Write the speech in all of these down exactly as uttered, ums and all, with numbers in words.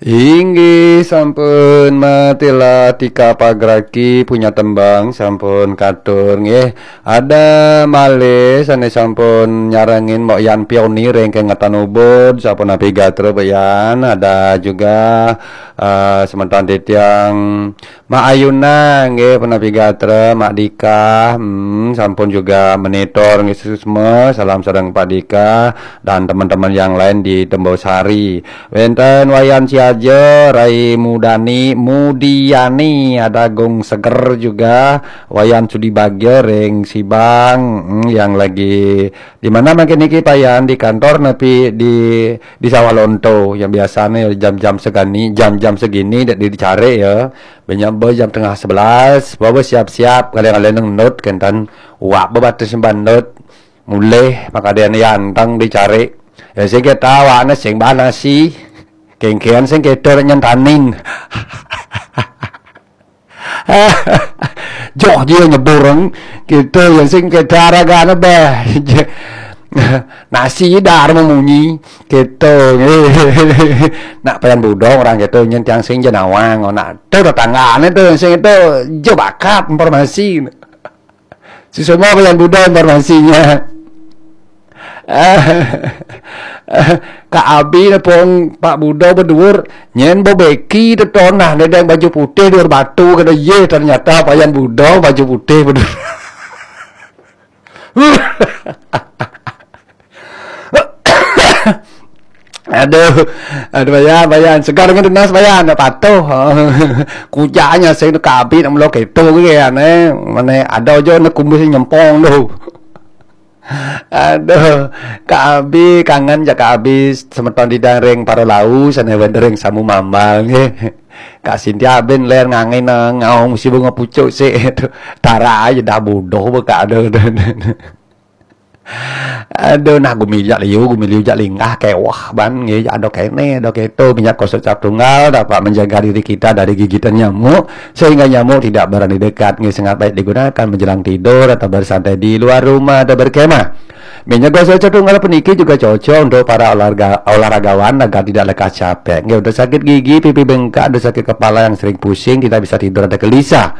Inggih sampun, matilah Tika Pagraki punya tembang sampun katur nggih. Ada malih sane sampun nyarengin Mbok Yan Pioni ring kengetan Ubud, sampun napi gatra Mbok Yan. Ada juga eh, semeton titiang Mak Ayuna nggih punapi gatra, Mak Dika, hmm, sampun juga monitor nggih suksma. Salam sareng Pak Dika dan teman-teman yang lain di Tembosari. Wenten Wayan Siaja, Rai Mudani, Mudiani, ada Gung Seger juga, Wayan Sudi Bagja ring Sibang, hmm, yang lagi di mana mangkin niki Payan, di kantor napi di di Sawah Lonto, yang biasanya jam-jam segini, jam-jam segini dak dicari ya. Banyak be jam tengah sebelas, bawa siap-siap, kadang-kadang ngendut, kenten, wak bebatas nyemban nut, mulih, makadean yantang dicari. Ya, sing kita awakne sing banasi, kengkean sing kita nyantanin. Joh dia nyebureng, kita yang sing kita ragane beh. Nasi dar memunyi, kita. Nak Payan Budong orang kita nyen tiang sing jenawang, nak tu tetanggane tu sing itu jo bakat informasi. Si semua Payan Budong informasinya. Kak Abi nepung Pak Budo bedur, nyen bo beki tetonah nedeng baju putih dur batu, kada ye, ternyata Payan Budo baju putih bedur. Aduh, aduh Payan, Payan, segar dengan tunas Payan, nak patuh. Kujanya sing tu Kak Abi nak melo keto ke ane, mana ada aja nak kumis nyempong tu. Aduh, Kak Abi, kangen ja Kak Abi, semeton didang ring para lau, sane wenten ring Samu Mambal nggih. Kak Sintia ben ler ngangen, eh, ngaung si bunga pucuk sik. Tara aja dah bodoh bekak, aduh. Aduh, nah gumili jak liu, gumili jak linggah, kewah ban nggih, ada kene, ada keto, minyak gosok cap tunggal dapat menjaga diri kita dari gigitan nyamuk, sehingga nyamuk tidak berani dekat nggih, sangat baik digunakan menjelang tidur atau bersantai di luar rumah atau berkemah. Minyak gosok cap tunggal puniki juga cocok untuk para olahraga, olahragawan agar tidak lekas capek. Nggih, untuk sakit gigi, pipi bengkak, untuk sakit kepala yang sering pusing, tidak bisa tidur atau gelisah.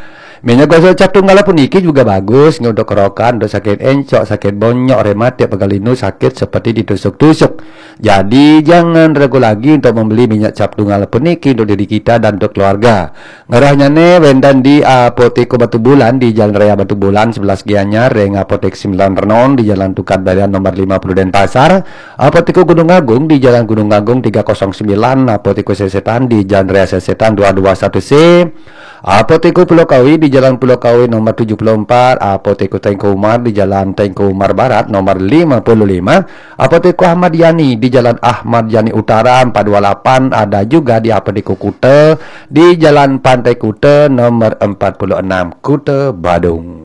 Minyak gosok cap tunggal puniki juga bagus nggih untuk kerokan, untuk sakit encok, sakit bonyok, rematik, pegal linu, sakit seperti ditusuk-tusuk. Jadi jangan ragu lagi untuk membeli minyak cap tunggal puniki untuk diri kita dan untuk keluarga. Ngerahnyane wenten di Apotek Batu Bulan di Jalan Raya Batu Bulan sebelas Gianyar, ring Apotek Sembilan Renon di Jalan Tukad Barian nomor lima puluh Denpasar, Apotek Gunung Agung di Jalan Gunung Agung tiga kosong sembilan, Apotek Sesetan di Jalan Raya Sesetan dua dua satu C, Apotek Pulau Kawi di Jalan Pulau Kawi nomor tujuh puluh empat, Apotek Tengku Umar di Jalan Tengku Umar Barat nomor lima puluh lima, Apotek Ahmad Yani di Jalan Ahmad Yani Utara empat dua lapan, ada juga di Apotek Kuta di Jalan Pantai Kuta nomor empat puluh enam, Kuta Badung.